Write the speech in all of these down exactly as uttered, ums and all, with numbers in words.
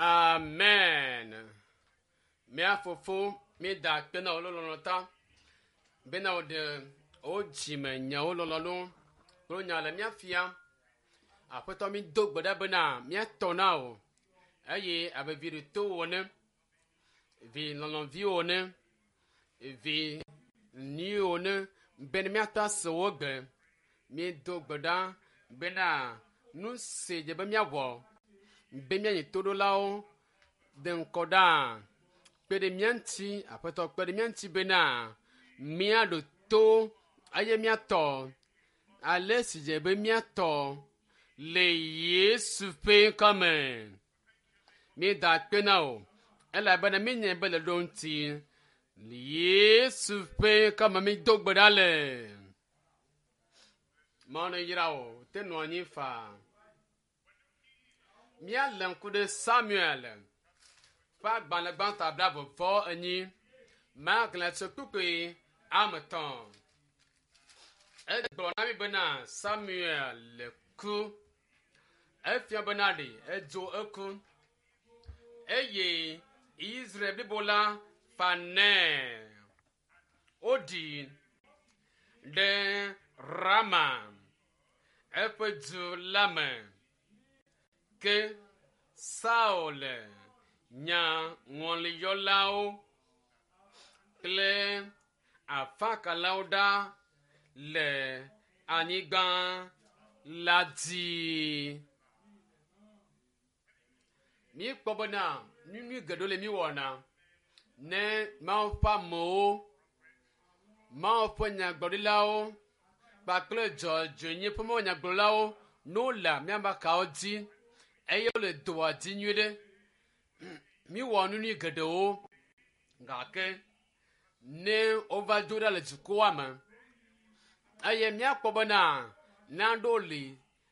Amen. Mía fofo, míeda akpe na wò le lɔlɔ̃ ta bena wòɖe wò dzime nyawo lɔlɔ̃nu kple nya le mía fiam. Aƒetɔ mi do gbe ɖa bena míatɔ na wò eye abe vi ɖoto wò ene, vi lɔlɔ̃vi wò ene, vi nyui wò ene bene míatɔ ase wò gbe. Míedo gbe ɖa bena nu si dze be míawɔ be míanyi toɖolawo de ŋkɔ ɖaa. Kpe ɖe mía ŋuti, Aƒetɔ kpe ɖe mía ŋuti bena míaɖo to eye míatɔ ale si dze be míatɔ le Yesu ƒe ŋkɔ me. Míeda akpe na wò elabena míenyae be le ɖo ŋuti. Le Yesu ƒe ŋkɔ me mído gbe ɖa le. Mawu neyra wò, te nɔ anyi faa. Míalé ŋku ɖe Samuel ƒe agbalẽ gbãtɔ blaeve vɔ enyi maxlẽ tso kpukpui ame etɔ̃. Egblɔ na mi bena Samuel le ku. Efia bena ɖe edzo eku eye Israel blibo la fa nɛ. Woɖi ɖe Rama eƒe du la me. Ke Saul nya ŋɔliyɔlawo kple afakalawo ɖa le anyigba la dzi. Míekpɔ bena nu nyui geɖewo le míwɔna ne Mawu ƒe amewo, Mawu ƒe nyagblɔɖilawo kpakple dzɔdzɔenye ƒe Mawu nyagblɔlawo ne wole míaƒe akawo dzi eye wole dɔa dzi nyuie ɖe. Míwɔ nu nyui geɖewo gake ne wova do ɖa le dukɔa me eye míakpɔ bena naɖewo li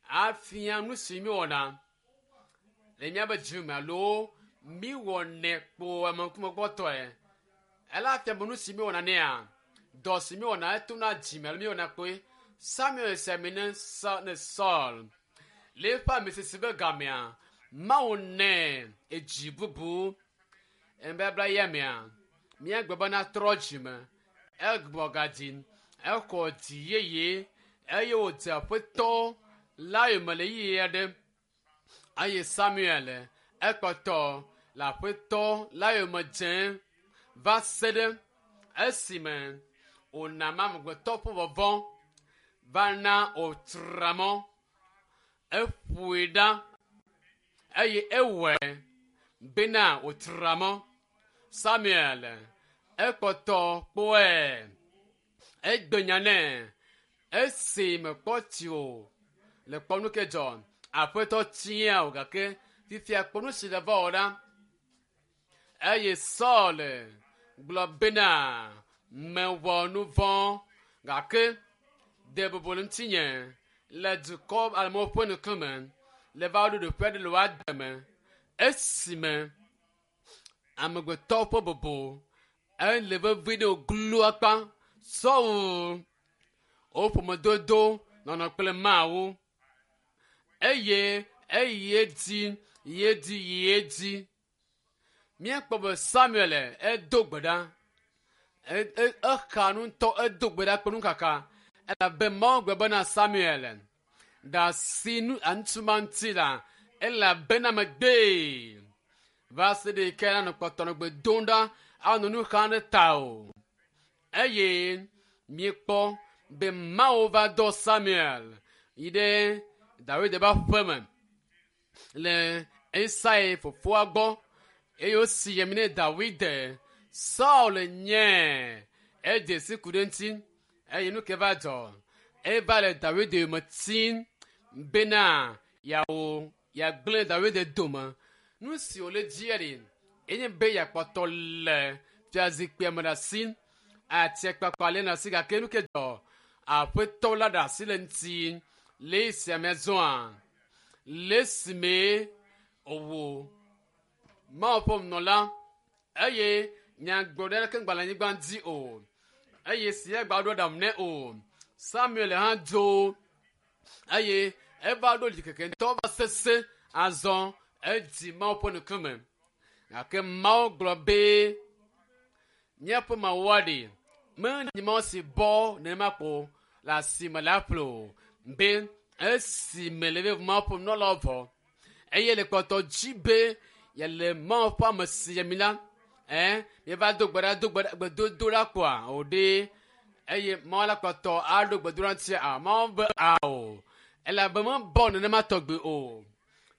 afia nu si míwɔna le míaƒe dzi me alo míwɔnɛ kpo ameŋkumekpɔtɔe. Ele afia be nu si míwɔna nɛa, dɔ si míwɔna etona dzime alo míwɔna kpoe. Samuel si ami ne Sa ne Saul le eƒe amisisi be gamea, Mawu nɛ edzi bubu. Nubabla ya mea, míagblɔ bena trɔ dzime, egbɔ gadzi, exɔ dzi yeye eye wòdze aƒetɔ la yome le ɣeyiɣi aɖe eye Samuel ekpɔtɔ le aƒetɔ la yome dzem va se ɖe esime wòna amegbetɔ ƒe vɔvɔ̃ va na wòtra mɔ. Eƒoe ɖa eye ewɔe bena wòtra mɔ. Samuel ekpɔtɔ kpɔe. Egbe nya nɛ esi mekpɔ tsi o le kpɔ nu ke dzɔ. Aƒetɔ tia o gake fifia kpɔ nu si le va wɔ ɖa. Eye Saul gblɔ bena mewɔ nu vɔ̃ gake de bubu le ŋutinye le dukɔ amewo ƒe ŋkume le va ɖo ɖoƒe aɖe le woa me esime amegbetɔ ƒe bubu ele vevi ɖe wòglo akpa sɔwu wo ƒomedodo nɔnɔ kple Mawu eye eyi edzi yi edzi yi edzi. Míekpɔ be Samuel edo gbe ɖa exa nu ŋutɔ edo gbe ɖa kple nukaka elabe Mawu gblɔ bena Samuel ɖe asi nu ŋutsu ma ŋuti la elabena megbee va se ɖe yi ke nanɔ kpɔtɔ nɔ gbe dom ɖa anɔ nu xam ɖe ta o eye míekpɔ be Mawu va dɔ Samuel yi ɖe Dawid ƒe aƒeme le Isai fofoa gbɔ eye wosi yemi ne Dawid. Saul nye edze si ku ɖe ŋuti eye nu ke va dzɔ eva le Dawid yome tim bena yeawo yeagblẽ Dawid dome. Nu si wòle dzia ɖi enye be yeakpɔtɔ le fiazikpuia me ɖe asi atiakpakpa le ɖe asi gake nu ke dzɔ aƒetɔ la ɖe asi le ŋuti le esia me zɔa le esime wòwu Mawu ƒe nunɔla eye nyagblɔɖi aɖeke ŋgba le anyigba dzi o eye si egba ɖo aɖaŋu nɛ o. Samuel hã dzo eye eva ɖo ɖikeke ŋutɔ va sese azɔ Edzi Mawu ƒe ŋkume. Gake Mawu gblɔ be míaƒe Mawua ɖe menye Mawu si bɔ nenema ko le asime le aƒle o. Be esime le be Mawu ƒe nunɔlawo vɔ eye le kpɔtɔ dzi be yele Mawu ƒe ame si yemi la, ɛ míeva do gbe ɖa do gbe ɖa gbedodo ɖa kpoa o ɖe eye Mawu la kpɔtɔ aɖo gbedoɖa ŋuti a Mawu be ao elabe mebɔ nenema tɔgbi o.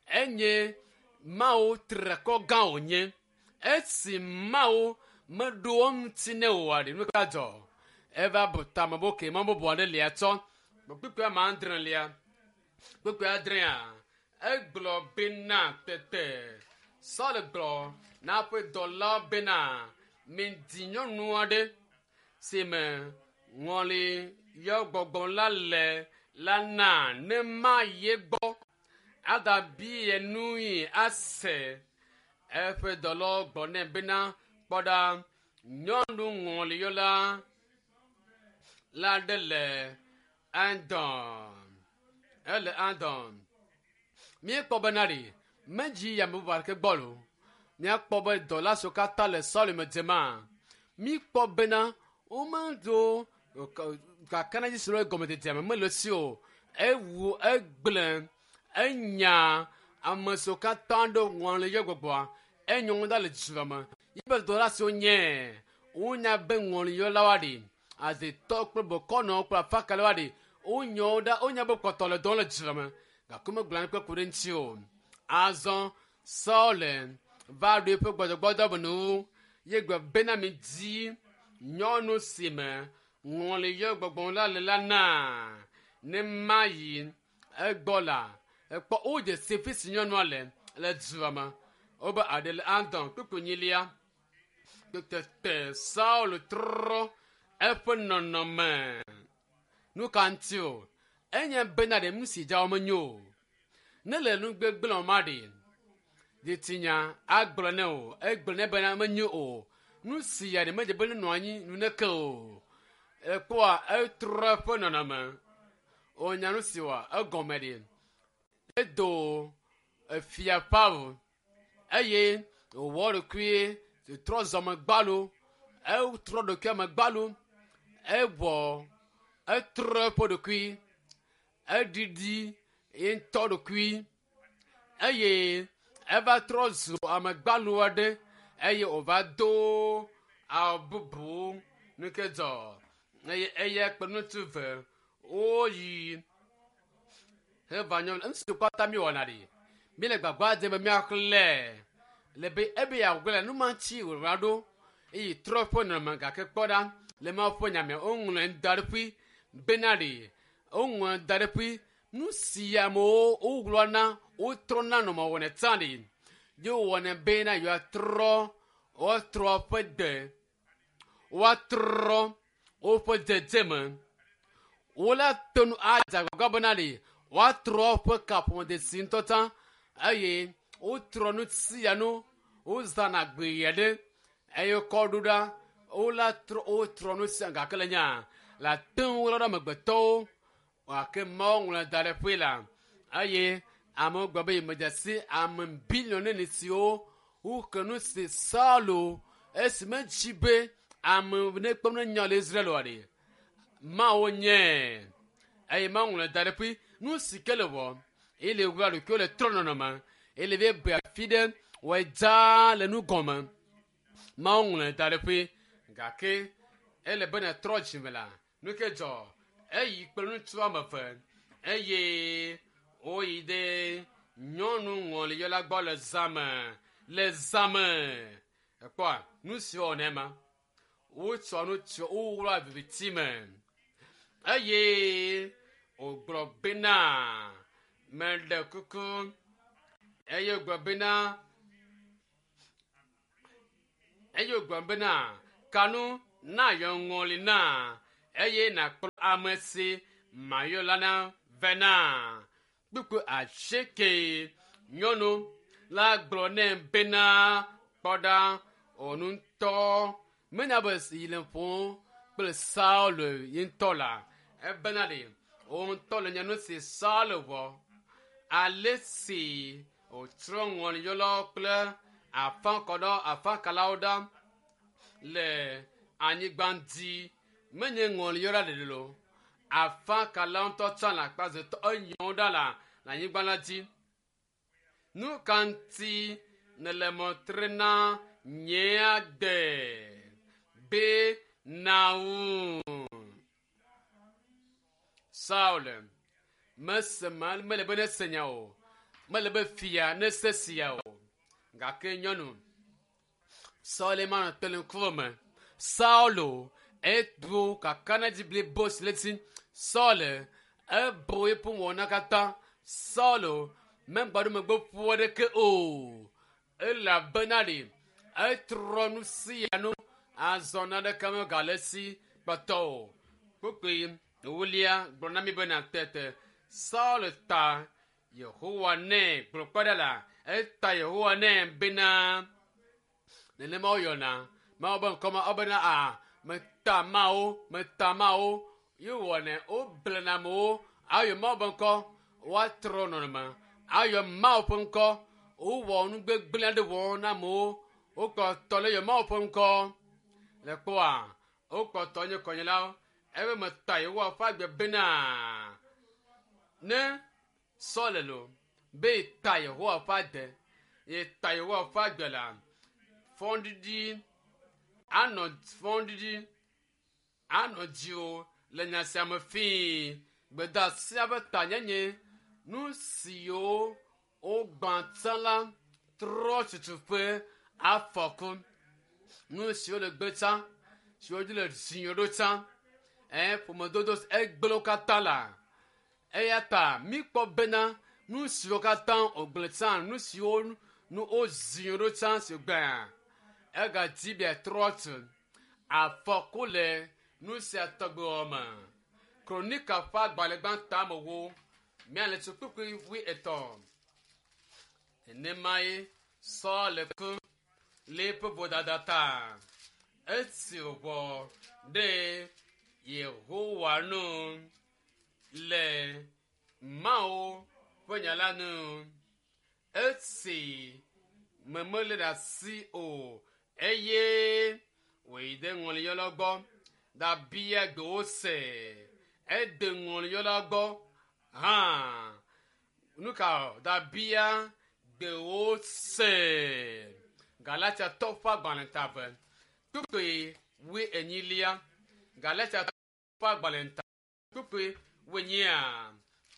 Enye Mawu trekɔ gã wònye. Esi Mawu meɖo eŋuti ne oa ɖe nu ka dzɔ? Eva bu tame be okay mɔ bubu aɖe lia tsɔ. Kpukpui ame adre lia. Kpukpui adrea egblɔ bena tete Saul gblɔ na eƒe dɔlawo bena midi nyɔnu aɖe si me ŋɔli yɔ gbɔgbɔ la le la na ne mayi egbɔ agabia nui ase. Eƒe dɔlawo gblɔ nɛ bena kpɔ ɖa nyɔnu ŋɔliyɔla la ɖe le Endor. Ele Endor. Míekpɔ bena ɖe medzi yi ame bubu aɖeke gbɔ lo. Míakpɔ be dɔla siwo katã le Saul me dzema. Míkpɔ bena womeɖo kakanadzi si le gɔmedzedzea me mele esi o. Ewu egblẽ enya ame siwo katã ɖo ŋɔliyɔ gbɔgbɔa enyo ŋu da le dua me. Yibe dɔla siwo nye wonya be ŋɔliyɔlawoa ɖe azetɔ kple bokɔnɔwo kple afakalawoa ɖe wonyɔ wo ɖa wonya be kpɔtɔ le dɔm le dua me gake womegblɔ naneke ku ɖe ŋuti o. Azɔ Saul va ɖo eƒe gbɔdzɔgbɔdzɔ me nuwu ye gblɔ bena midi nyɔnu si me ŋɔliyɔ gbɔgbɔ la le la na ne mayi egbɔ la ekpɔ wodze si fi si nyɔnua le le dua me. Wobe aɖe le Endor kpukpui enyilia. Tete Saul trɔ eƒe nɔnɔme. Nu ka ŋuti o? Enye bena ɖe nu si dza wo menyo o. Ne le nu gbegblẽ wɔm aɖe, dzitsinya agblɔ nɛ o. Egblɔ nɛ bena menyo o. Nu si ya ɖe medze be nenɔ anyi nuneke o. Ekpɔa etrɔ eƒe nɔnɔme. Wonya nu si wɔ egɔme ɖe. Edo efia ƒe awu eye wòwɔ ɖokui trɔ zɔme gbalo. Etrɔ ɖokui ame gbalo. Ewɔ etrɔ eƒe ɖokui. Eɖiɖi ye ŋutɔ ɖokui eye eva trɔ zu ame gbalo aɖe eye wòva do awu bubu nu ke dzɔ eye eya kple ŋutsu ve woyi heva nyɔnu ŋutsu kpata mi wɔna ɖi mi le gbagba dzem be míaxlẽ le be ebe yeagblẽ nu ma ŋuti wòva ɖo eye trɔ eƒe nɔnɔme gake kpɔ ɖa le Mawu ƒe nya me woŋlɔe da ɖe ƒui bena ɖe woŋlɔe da ɖe ƒui nu si amewo wogblɔna wotrɔna nɔnɔme wɔnɛ tsã ɖe ye wowɔnɛ bena yewoatrɔ woatrɔ woƒe gbe woatrɔ woƒe dzedzeme wola to nu adze agbagba bena ɖe woatrɔ woƒe kaƒomedzesi ŋutɔ tsã eye wotrɔ nu sia nu wozãna gbe aɖe eye wokɔ ɖo ɖa wola trɔ wotrɔ nu sia gake le nya le ate ŋu ɣla ɖe amegbetɔwo gake Mawu ŋlɔe da ɖe ƒe la eye amewo gblɔ be yemedze si ame biliɔn neni siwo woke nu si Saulo esi medzi be ame nekpɔ ne nya le Israel oa ɖe Mawu nye eye Mawu ŋlɔe da ɖe ƒe nu si ke le wɔ eye le ɣla ɖokuiwo le trɔ nɔnɔme eye le be be afi ɖe wɔe dzaa le nu gɔme Mawu ŋlɔe da ɖe ƒe gake ele be netrɔ dzime la nu ke dzɔ eyi kple ŋutsu woame eve eye woyi ɖe nyɔnu ŋɔliyɔla gbɔ le zãme le zãme ekpɔa nu si wɔnɛ ma wotsɔ nu tsɔ wowlɔ viviti me eye wògblɔ bena meɖe kuku eye wògblɔ bena eye wògblɔ bena kanu nayɔ ŋɔli na eye nàkplɔ ame si mayɔ la na vɛ na kpukpui asieke nyɔnu la gblɔ nɛ bena kpɔ ɖa wò ŋutɔ menya be yi le ƒom kple Saul ye ŋutɔ la ebena ɖe wò ŋutɔ le nya nu si Saul wɔ ale si Wòtrɔ ŋɔliyɔlawo kple afakɔɖɔ afakalawo ɖa le anyigba dzi. Menye ŋɔliyɔla ɖeɖe lo. Afakalawo ŋutɔ tsã le akpa zetɔ enyɔwo ɖa le le anyigba la dzi. Nu ka ŋuti nèle mɔ tre na nye agbe be nàwu? Saul mese ma mele be nese nya o. Mele be fia nese sia o. Gake nyɔnu Saul ma nɔ te le ŋkume me. Saulo edo kakanedzi blibo si le esi. Saul ebo eƒe wɔna katã. Saulo megba ɖo megbe ƒu aɖeke o. Elabena ɖe etrɔ nu sia nu azɔ naneke megale esi kpɔtɔ o. Kpukpui ewolia gblɔ na mi bena tete Saul ta Yehowa nɛ gblɔ kpɔ ɖa la eta Yehowa nɛ bena nenema woyɔna Mawu be ŋkɔme wobena a meta Mawu meta Mawu ye wɔnɛ woblena amewo ayɔ Mawu be ŋkɔ woatrɔ nɔnɔme ayɔ Mawu ƒe ŋkɔ wowɔ nu gbegblẽ aɖe wɔm na amewo wokpɔtɔ le yɔ Mawu ƒe ŋkɔ le kpɔa wokpɔtɔ nye kɔnyelawo ebe meta Yehowa ƒe agbe bena ne Saul lo be yeta Yehowa ƒe ade yeta Yehowa ƒe agbe la fɔɖiɖi anɔ fɔɖiɖi anɔ dziwò le nya sia me fii. Gbedeasia ƒe tanyenye nu siwo wogbã tsã la trɔ tutu ƒe afɔku. Nu siwo le gbe tsã siwo dzi le ziɔ ɖo tsã ɛ ƒomedodo egblẽ wo katã la eya ta míkpɔ bena nu siwo katã wògblẽ tsã nu siwo nu woziɔ ɖo tsã si gbea egadzi be trɔ tu afɔku le nu sia tɔgbe wɔme. Kronika ƒe agbalẽ gbãtɔ ame wo míale tso kpukpui wui etɔ̃. Nenemae Saul ku le eƒe vodada ta. Esi wòwɔ ɖe Yehowa nu le Mawu ƒe nya la nu. Esi me melé ɖe asi o eye wòyi ɖe ŋɔliyɔla gbɔ ɖabia gbewo se. Ede ŋɔliyɔla gbɔ hã. Nu ka ɖabia gbewo se. Galatiatɔ ƒe agbalẽ ta eve kpukpui wui enyilia. Galatiatɔ ƒe agbalẽ ta kpukpui wui enyia.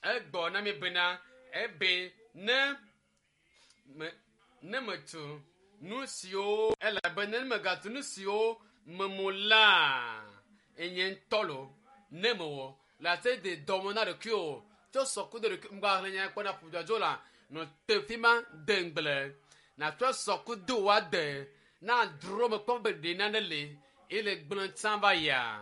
Egbɔ na mi bena ebe ne me ne metu nu siwo elabe ne megatu nu siwo memu la enye ŋutɔ lo ne mewɔ le ate de dɔme na ɖokuiwò tsɔ sɔ kudo ɖokui ŋgɔ ahlẽ nya kpɔ na ƒudzɔdzo la nɔ te fi ma de ŋugble nàtsɔ sɔ kudo wòade na dro me kpɔ be ɖe nane li ele gblẽ tsã va yia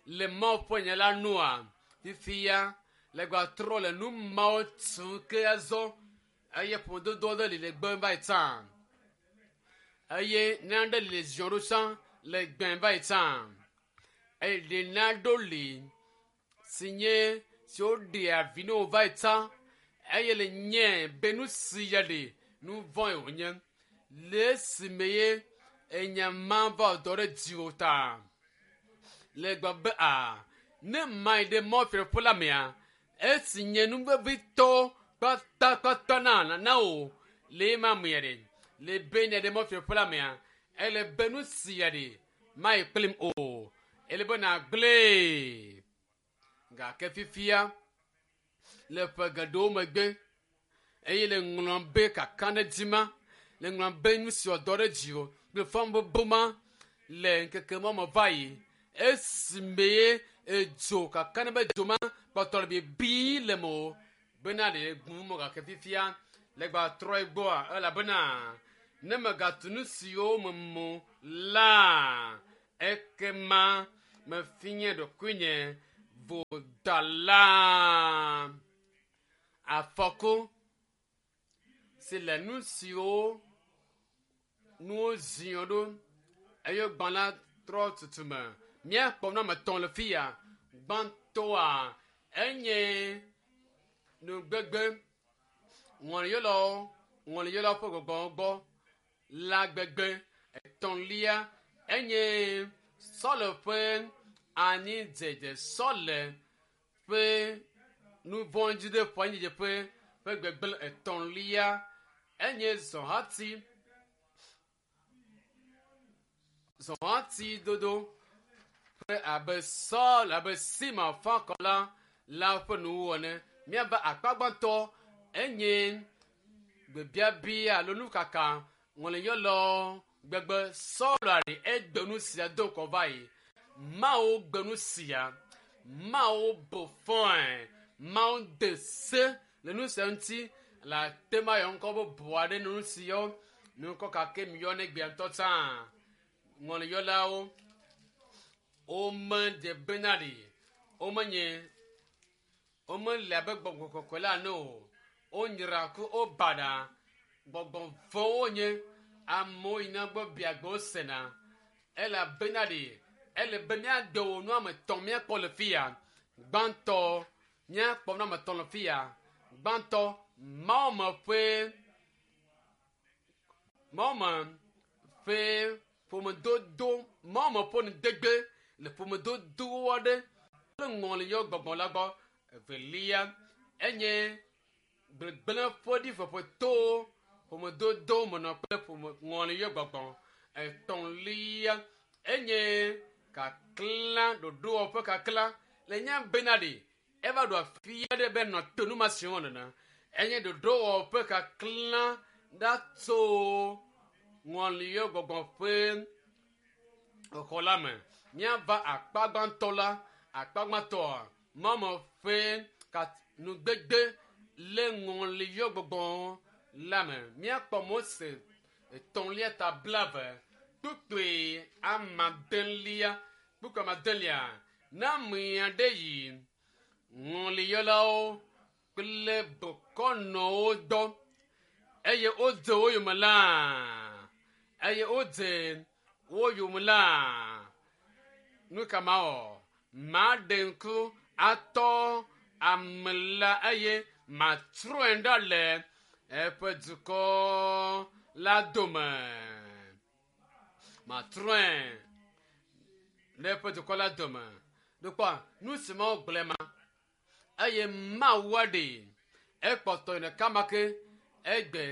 le Mawu ƒe nya la nua fifia le gba trɔ le nu mawo tum ke azɔ eye ƒomedodo aɖe li le gbem va yi tsã eye nane li le ziɔ ɖo tsã le gbem va yi tsã eye ɖe nane li si nye si woɖea vi na wò va yi tsã eye le nye be nu si ya ɖe nu vɔ̃e wònye le esime ye enya ma va dɔ ɖe dziwò ta le gblɔ be a ne ma yi ɖe mɔfiaƒe la mea esi nye nu vevitɔ kpatakpata na na wò le ema mea ɖe le be ne ɖe mɔfiaƒe la mea ele be nu sia ɖe ma yi kplim o ele be nàgblẽe gake fifia le ƒe geɖewo megbe eye le ŋlɔm be kakaɖedzi ma le ŋlɔm be nu si wòdɔ ɖe dziwò kple fɔbubu ma le ŋkeke ma me va yi esime ye edzo kakaɖe be dzo ma kpɔtɔ le bibi le me o bena ɖe gbum mɔ gake fifia le gba trɔ gbɔa elabena ne megatu nu siwo memu la ekema mefi nye ɖokuinye vodala. Afɔku si le nu siwo nuwo ziɔ ɖo eye gbã la trɔ tutume. Míakpɔ nu ame etɔ̃ le fi ya. Gbãtɔa enye nugbegbe ŋɔliyɔlawo ŋɔliyɔlawo ƒe gbɔgbɔ gbɔ la gbegbe. Etɔ̃lia enye sɔle ƒe anyidzedze, sɔle ƒe nuvɔ̃dzi ɖe ƒe anyidzedze ƒe ƒe gbegblẽ. Etɔ̃lia enye zɔhati, zɔhati dodo ƒe abe Sɔl abe Simon fakɔla la ƒe nuwuwu ene. Míava akpa gbãtɔ enye gbebiabia alo nukaka ŋɔliyɔlɔ gbegbe. Sɔl aɖe egbe nu sia do ŋgɔ va yi. Mawu gbe nu sia, Mawu bu fɔe, Mawu de se le nu sia ŋuti le ate ma yɔ ŋkɔ bubu aɖe nu si yɔ nukɔ kake mi yɔ ne gbea ŋutɔ tsã. Ŋɔliyɔlawo womedze bena ɖi, womenye womele abe gbɔgbɔ kɔkɔe la ene o. Wonyra ku wobaɖa gbɔgbɔ vɔ̃wo wonye. Amewo yina gbɔ biagbe wosena elabena ɖi ele be míade wo nu ame etɔ̃ míakpɔ le fi ya. Gbãtɔ míakpɔ nu ame etɔ̃ le fi ya. Gbãtɔ Mawume ƒe Mawume ƒe ƒomedodo, Mawume ƒe nudegbe le ƒomedodo aɖe kple ŋɔliyɔ gbɔgbɔ la gbɔ. Evelia enye gbegblẽ ƒe ɖiƒoƒo to ƒomedodo menɔ kple ƒome ŋɔliyɔ gbɔgbɔ. Etɔ̃lia enye kaklã ɖoɖowɔƒe kaklã le nya bena ɖi eva ɖo afi aɖe be nɔ to nu ma si wɔm nene. Enye ɖoɖowɔƒe kaklã ɖa tso ŋɔliyɔ gbɔgbɔ ƒe xɔ la me. Míava akpa gbãtɔ la, akpa gbãtɔa Mawume ƒe nugbegbe le ŋɔliyɔ gbɔgbɔ la me. Míakpɔ Mose etɔ̃lia ta blaeve kpukpui amadelia kpukpui amadelia ne ame aɖe yi ŋɔliyɔlawo kple bokɔnɔwo dɔ eye wodze wo yome la eye wodze wo yome la nu ka mawɔ? Maɖe ŋku atɔ ame la eye matrɔe ɖa le eƒe dukɔ la dome. Matrɔe ɖe eƒe dukɔ la dome. Ɖokpɔ nu si Mawu gblɔe ma eye Mawu aɖe ekpɔtɔ yi ɖeka ma ke egbe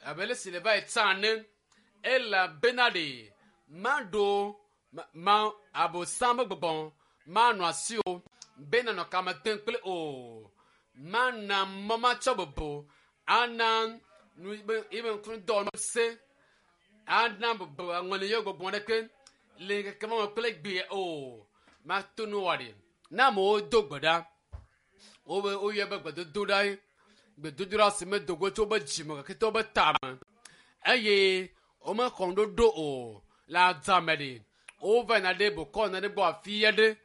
abe ale si le va yi tsã ene elabena ɖe maɖo ma, ma abosam ƒe gbɔgbɔ manɔ asi o be nanɔ kame tem kple o. Mana mɔ matsɔ bubu ana nu be ebe ŋkudɔ se ana bubu ŋɔliyɔ gbɔgbɔ ɖeke le ŋkeke ma me kple gbea o. Mato nu wɔ ɖi ne amewo do gbe ɖa wobe woyɔ be gbedodoɖa ye gbedodoɖa si medo go tso wobe dzime gake to wobe tame eye womexɔ ŋuɖoɖo o le adzame ɖi wova yina ɖe bokɔnɔ ɖe gbɔ afi aɖe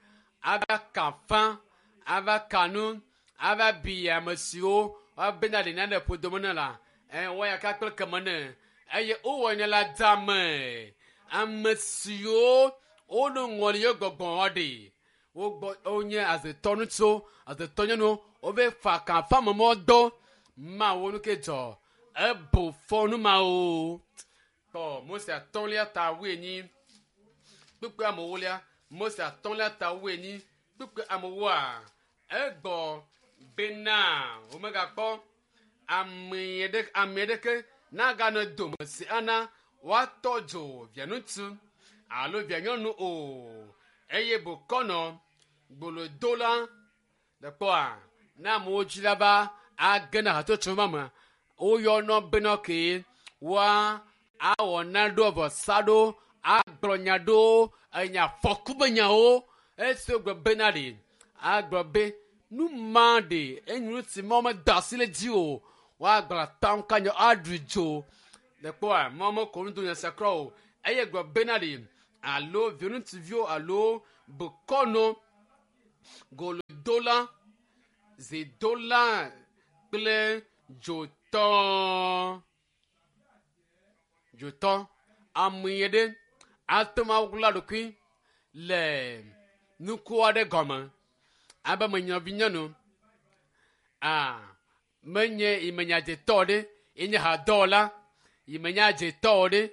ava ka fã ava ka nu ava bi ame siwo woabena ɖi nane ƒodome ne la ɛ wɔya ka kple keme ne eye wowɔ ne le adzame ame siwo woɖo ŋɔliyɔ gbɔgbɔ ɖi wogbɔ wonye azetɔ ŋutsuwo azetɔ nyɔnuwo wobe fa ka fa me dɔ mawo nu ke dzɔ ebu fɔ nu mawo tɔ Mose atɔ̃lia ta wuienyi kpukpui amewolia Mose atɔ̃lia ta wuienyi kpukpui amewoa egbɔ bena womegakpɔ ame ɖe ame ɖeke naganɔ dome si ana woatɔ dzo via ŋutsu alo via nyɔnu o eye bokɔnɔ gbolodola le kpɔa ne amewo dzi la va age na hatsotso ma me woyɔnɔ bena ke woa awɔ na ɖo vɔsa ɖo agblɔ nya ɖo enya fɔku be nyawo esi wogblɔ bena ɖe agblɔ be nu ma ɖe enyi nu si ma meda asi le dzi o woagblɔ atam ka nya aɖu dzo le kpɔa ma mekɔ nu do nya sia kura o eye gblɔ bena ɖe alo viŋutsuviwo alo bokɔnɔ golodola zidola kple dzotɔ dzotɔ ame ɖe ate ŋu awla ɖokui le nuku aɖe gɔme abe menyavi nyɔnu a menye imenyadzetɔ ɖe Enye hadɔwɔla yi menye adzetɔ o ɖe.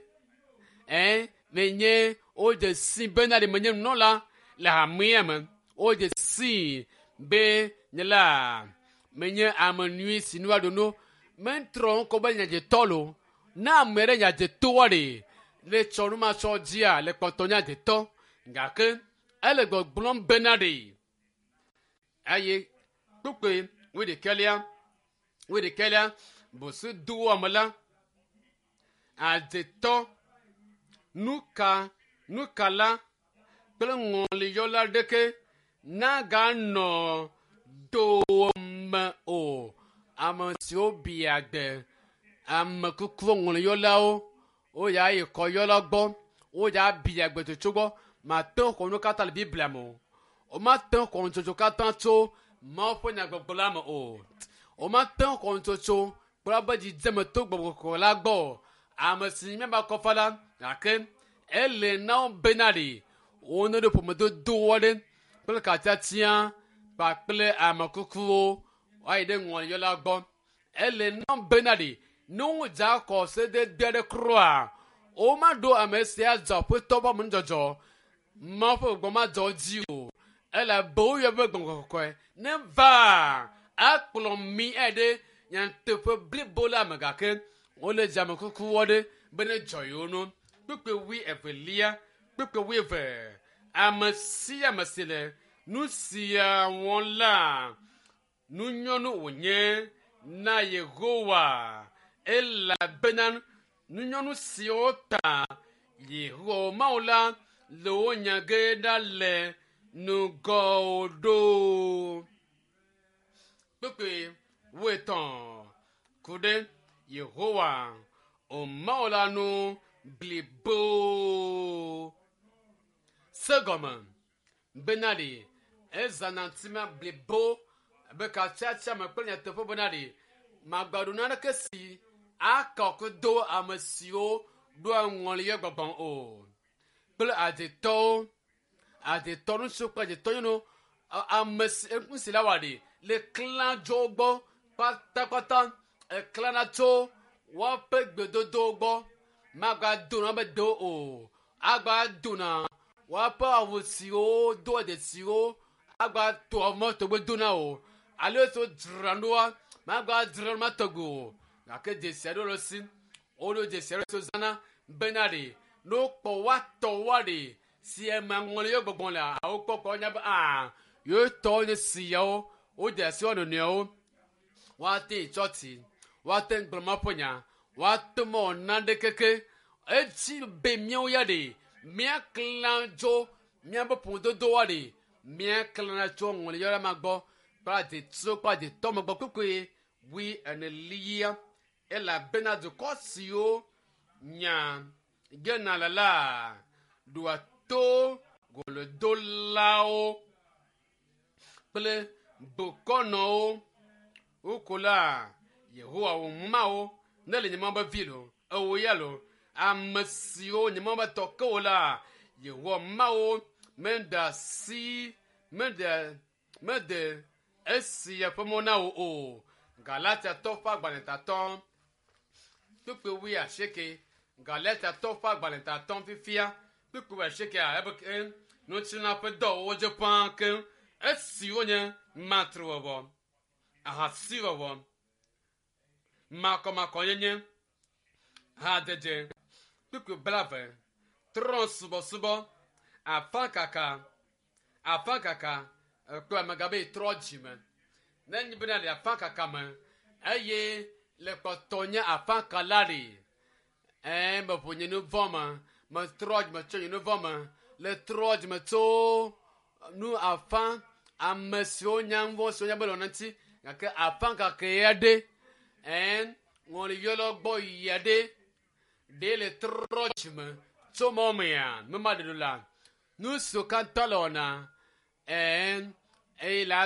Ɛɛ menye wodze si bena ɖe menye nunɔla le hamea me. Wodze si be nye la menye ame nyui si nu aɖo no. Metrɔ ŋkɔ be nye adzetɔ lo. Ne ame ɖe nye adzetɔa ɖe le tsɔ nu ma tsɔ dzia le kpɔtɔ nye adzetɔ gake ele gbɔgblɔm bena ɖe. Eye kpukpui wuiɖekɛlia wuiɖekɛlia bosu dowɔme la adzetɔ nuka nukala kple ŋɔliyɔla ɖeke naganɔ dowòme o. Ame siwo bia gbe ame kukuwo ŋɔliyɔlawo woya yi kɔyɔla gbɔ woya bia gbe tsotso gbɔ mate ŋu xɔ nu katã le Biblia me o. Womate ŋu xɔ nutsotso katã tso Mawu ƒe nyagbɔgblɔ la me o. Womate ŋu xɔ nutsotso kple woƒe dzidzeme to gbɔgbɔ kɔkɔe la gbɔ o. Ame si nye míaƒe akɔfa la gake ele na wo bena ɖe wone ɖo ƒomedodo aɖe kple katiatia kpakple ame kukuwo woayi ɖe ŋɔliyɔla gbɔ. Ele na wo bena ɖe ne wodze akɔ sedede aɖe kura womaɖo ame sia dzɔ aƒetɔ ƒe amenudzɔdzɔ Mawu ƒe gbɔgbɔ madzɔ wo dzi o. Elabe woyɔ be gbɔgbɔ kɔkɔe ne va akplɔ mi ayi ɖe nyateƒe blibo la me gake wole dze ame kukuwo ɖe be ne dzɔ yewo nu. Kpukpui wui evelia kpukpui wui eve ame sia ame si le nu sia wɔm la nunyɔnu wònye na Yehowa elabena nunyɔnu siwo ta Yehowa Mawu la le wo nya ge ɖa le ŋgɔwò ɖo. Kpukpui wuietɔ̃ ku ɖe Yehowa o Mawu la nu blibo. Se gɔme bena ɖe ezãna ŋutima blibo be katsiatsia me kple nyateƒe bena ɖe magbaɖo naneke si akɔ do ame siwo ɖoa ŋɔliyɔ gbɔgbɔm o kple adzetɔwo adzetɔ ŋutsu kple adzetɔ nyɔnu ame si nu si la wɔ ɖi le klã dzo wo gbɔ kpatakpata eklãna tso woƒe gbedodowo gbɔ magadona be do o agadona woƒe awu siwo do dzesiwo agato mɔtɔgbe dona o alo esi wodzra ɖoa magadzra ɖo matɔgbe o gake dzesi aɖewo le si woɖo dzesi aɖewo si wozãna bena ɖe ne wokpɔ woatɔ woa ɖe si eme ŋɔliyɔ gbɔgbɔ le wokpɔkpɔ wonya be aa yewo tɔwo nye siawo wode asi wo nɔnɔewo woate yi tsɔtsi woate ŋu gblɔ Mawu ƒe nya woate mɔ nane keke edzi be míawo ya ɖe míaklã tso míaƒe ƒomedodowoa ɖe míaklãna tso ŋɔliyɔla ma gbɔ kple adzetsuwo kple adzetɔ me gbɔ kpukpui wui enelia elabena dukɔ siwo nya gena le la ɖoa to golodolawo kple bokɔnɔwo wokola Yehowa wò Mawu ne le nye Mawu be vi lo ewo ya lo ame siwo nye Mawu be tɔ ke wo la Yehowa Mawu meɖe asi meɖe mede esi eƒe mɔ na wo o. Galatiatɔ ƒe agbalẽtatɔ kpukpui wui asieke Galatiatɔ ƒe agbalẽtatɔ fifia kpukpui wui asiekea ebe ke ŋutilã ƒe dɔwɔwɔ dze ƒãa keŋ esiwo nye matrewɔwɔ, ahasiwɔwɔ, makɔmakɔnyenye, hadede, kpukpui blaeve, trɔ̃subɔsubɔ, afakaka, afakaka ekpe amegã be trɔ dzime. Ne nye bena le afakaka me eye le kpɔtɔ nye afakala ɖe ɛɛ meʋu nye nu vɔ me metrɔ dzime tso nye nu vɔ me le trɔ dzime tso nu afa ame siwo nya nu vɔ siwo nya be le wɔna ŋuti gake afakaka ya ɖe ɛɛ ŋɔliyɔlɔ gbɔ yia ɖe ɖe le trɔ dzime tso mɔ mea mema ɖe ɖo la nu siwo katã le wɔna ɛɛ eye la